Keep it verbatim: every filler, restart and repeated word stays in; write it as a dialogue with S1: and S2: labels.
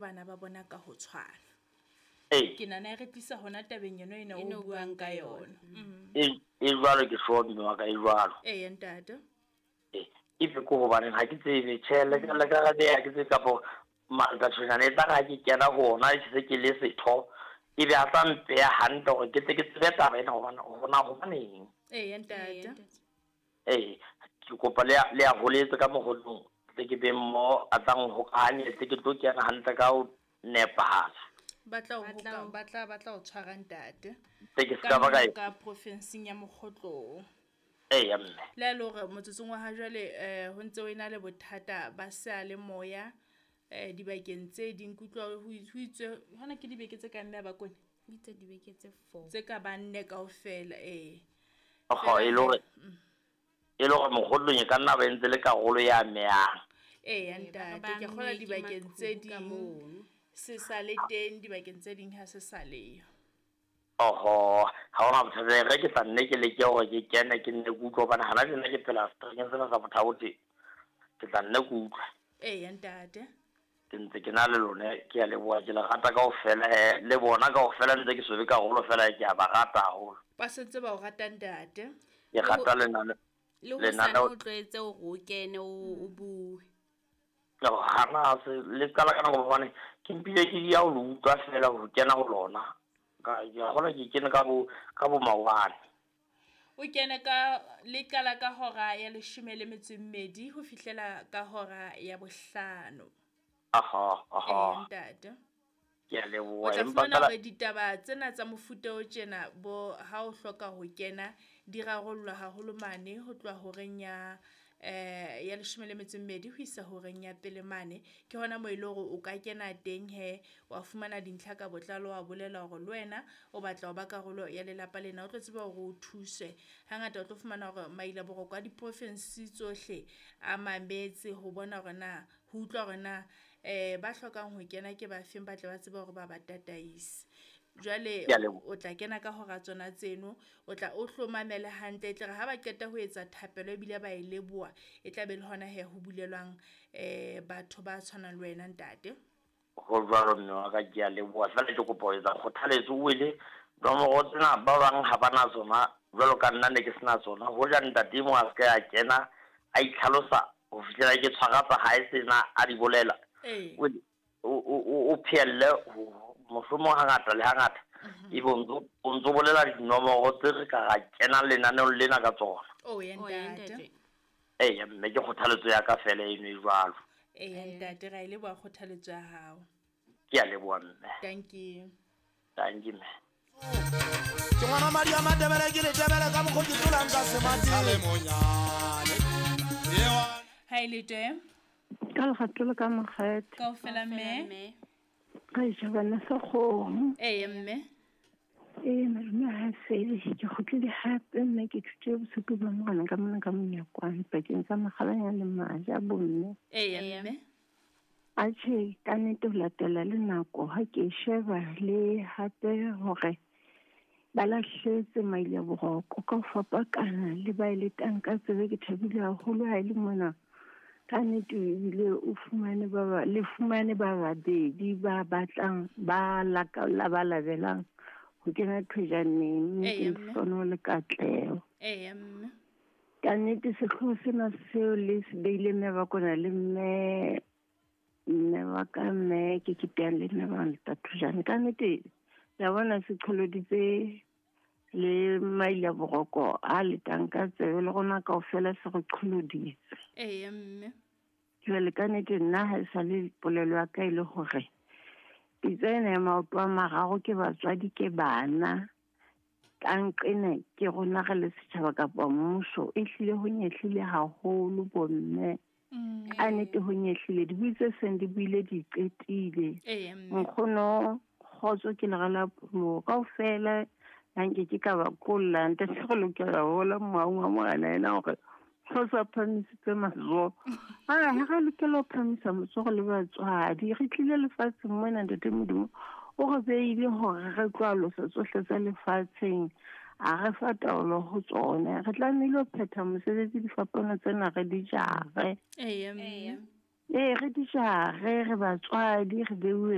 S1: Bana ba bona ka ho tshwana.
S2: Ee.
S1: Ke nahana e re tlisa hona tabeng yona ena
S3: E
S1: o
S3: no
S1: buang
S3: buang
S1: ka
S3: ka
S1: yona.
S3: yona.
S1: Mm.
S2: E e jwalo ke sure mme wa ka e jwalo.
S1: Eya ntate.
S2: E ebe ke hobaneng ha ke tsebe tjhe le ka le ka ha ke tsebe kapo Malta-Tshwenyane e tlare ha ke kena ho ona ke se ke le setho ebe a tla mpeha hantle hore ke tle ke tsebe taba ena hobane hore na hobaneng.
S1: Eya ntate.
S2: Ee, ke kopa le a le a holetse ka mokgotlong tle ke be mo a tlang hokahanye tle ke tlo kena hantle ka ho nepahala.
S1: Ba tla o
S3: Ba tla
S1: hoka
S3: o-
S1: ba tla ba tla o tshwara ntate.
S2: Tle ke
S1: Ka
S2: ska ba ka
S1: mono ka profinsing ya Mokgotlong.
S2: Eya mme.
S1: Le ha e le hore motsotsong wa ha jwale eh ho ntse ho ena le bothata ba seyalemoya eh dibakeng tse ding ke utlwa ho ho itswe hona ke dibeke tse kae mme a Bakone?
S3: Bitse dibeke tse four.
S1: Tse ka bang nne kaofela ee.
S2: Oho, e le hore e le hore Mokgotlong e ka nna ba entse le karolo ya amehang.
S1: Eya
S3: Ee, ba re
S1: ntate,
S3: ba
S1: ke kgolwa
S3: amuwe ke
S1: dibakeng tse
S3: maqhubu ka
S1: ding
S3: mono.
S1: se sa le teng, dibakeng tse ding ha se sa leyo.
S2: Oho, ha hona bothata e re ke tla nne ke leke hore ke kene ke nne ke utlwe hobane hana tjena ke phela seterekeng sena sa Bothaote. Ke tla nne ke utlwe.
S1: Eya ntate.
S2: Ke ntse ke na le lona ke a leboha ke le rata kaofela he le bona kaofela ntse ke so be karolo fela ke a ba rata haholo.
S1: Ba sentse ba o rata ntate.
S2: Ke rata lenane
S3: Le hosane
S2: lenaneo
S3: o tlwaetse hore o kene o o bue.
S2: Hana se le qala ka nako hobane ke mpile ke ya ho le utlwa fela ho kena ho lona. Ka ke a kgolwa ke kene ka bo ka bo maobane.
S1: O kene ka le qala ka hora ya leshome le metso e mmedi ho fihlela ka hora ya bohlano.
S2: Aha,
S1: Eya
S2: aha.
S1: ntate.
S2: Ke a
S1: O
S2: leboha
S1: tla
S2: empa
S1: fumana
S2: feela
S1: hore ditaba tsena tsa mofuta o tjena bo ha o hloka ho kena di rarollwa haholo mane ho tloha horeng ya eh ya leshome le metso e mmedi ho isa horeng ya pele mane. Ke hona moo e le hore o ka kena teng he wa fumana dintlha ka botlalo wa bolela hore le wena o batla ho ba karolo ya lelapa lena o tlo tseba hore o thuswe. Hangata o tlo fumana hore maila boroko a diprofinsi tsohle a mametse ho bona hore na ho utlwa hore na eh ba hlokang ho kena ke ba feng ba tle ba tsebe hore ba ba tataise. Jwale
S2: Ke a leboha.
S1: o tla kena ka hora tsona tseno o tla o hlomamele hantle e tle re ha ba qeta ho etsa thapelo ebile ba e leboha e tla be le hona he ho bulelwang eh batho ba tshwanang le wena ntate.
S2: Ho jwalo mme wa ka ke a leboha feela ke kopa ho etsa kgothaletso o ele nomoro tsena ba bang ha ba na tsona jwalo ka nna ne ke sena tsona. Hoja ntate e mong a se ka ya kena a itlhalosa ho fihlela ke tshwara tsa hae tsena a di bolela.
S1: Ee.
S2: O o o o phehelle ho mohlomong hangata le hangata ebe o ntso o ntso bolela dinomoro tse re ka ra kena lenaneong lena ka tsona.
S1: Oh ya
S3: Oh ya
S1: ntate.
S3: ntate.
S2: Eya mme ke kgothaletso ya ka feela eno e jwalo.
S1: Eya ntate ra e leboha kgothaletso ya hao.
S2: Ke a leboha mme.
S1: Thank you.
S2: Thank you mme.
S4: Ke ngwana madi a Matebele ke letebele ka mokgo ke tlolang ka semathing.
S1: Ha e le teng?
S5: Ka lerato le ka mokgetho.
S1: Kaofela mme.
S3: Mme.
S5: Re ja bana sekgomo.
S1: Eya mme.
S5: Ee malome ha fele ke kgutlile hape mme ke thutile bosupi ba morena ka mona ka monyakwane pakeng tsa Makgalanya le Maja bomme.
S1: Eya
S3: Eya.
S1: mme.
S5: Atjhe ka nnete ho latela le nako ha ke e sheba le hape hore ba lahletse maile a boroko ka ho fapakana le ba e letang ka tsebe ke thabile haholo ha e le mona. Ka nnete ebile o fumane ba ba le fumane ba babedi ba batlang ba laka la ba labelang ho kena thojaneng mme ke
S1: Eya, mme.
S5: lehlohonolo le katleho.
S1: Eya mme.
S5: Ka nnete sehlooho sena seo le se beileng mme ba kona le mme mme wa ka mme ke keteang le nna ba Ntate Thojane. Ka nnete la bona se qholoditse le maile a boroko a letang ka tsebe le rona kaofela se re qholoditse.
S1: Eya mme.
S5: Jwale ka nnete nna ha e sa le polelo ya ka e le hore pitsa ena ya maoto a mararo ke batswadi ke bana ka nqena ke rona re le setjhaba kapa mmuso e hlile ho nyehlile haholo bomme.
S1: Mm.
S5: Ka nnete ho nyehlile dibui tse seng di buile di qetile.
S1: Eya mme.
S5: Nkgono kgotso ke lera la pholoho kaofela ha nke ke ka ba kolla ntate re lokela ho hola moahong wa morena ena hore ho sa phahamisitse matsoho. Ah, ha re lokela ho phahamisa matsoho le batswadi re tlile lefatsheng mona ntate Modimo o re beile hore re tlo alosa tsohle tsa lefatsheng a re fa taolo ho tsona re tlamehile ho phetha mosebetsi difapano tsena re di jare.
S1: Eya mme.
S3: Eya.
S5: Ee re di jare re batswadi re beuwe